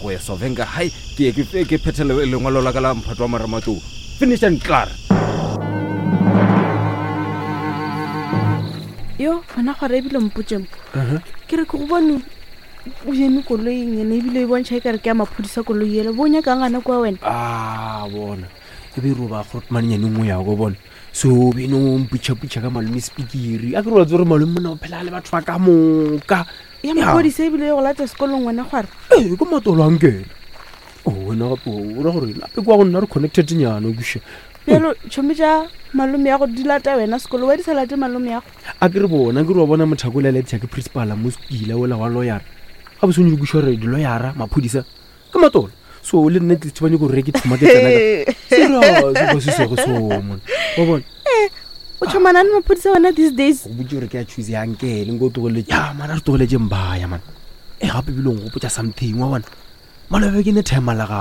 Go ya Sovenga High ke ye ke ke phethe lengwalo la ka la mphato wa marematlou. Finish and klaar. Yo, gona gore ebile mpotše mo. Ke re ke go bone o eme koloing ene ebile e bontšha e kare ke ya maphodisa koloi ele bo nyakang gana kua wena a bona e be roba grotman nyane nngwe ya go bona so beno mputšhaputšha ka malome sepikiri a ke re wa tsore malome mona o phela le batho ba ka moka ya maphodisa ebile e go lata sekolong wena kgware ee ke matolo a nkena o wena gape o ra gore nape kwa go nna re connected nyana o kuša bjalo tšhomi tša malome ya go di lata wena sekolo wa di sa late malome yago a ke re bona ke re wa bona mothako o laletša ke principala mo sekila ola wa loyara ga bo sone kuša gore diloyara maphodisa ke matolo so le nna tlise ba nyako gore ke thoma ke tsena ka serious ka se sego so mona wa bona eh, o tšhomana le maphodisa wena these days go botse gore ke a choose ya nkele nko tlogeletse ya mana re tlogeletse mbaya mana e gape bile o gopotsa something wa bona malobe ke ne thema la gago.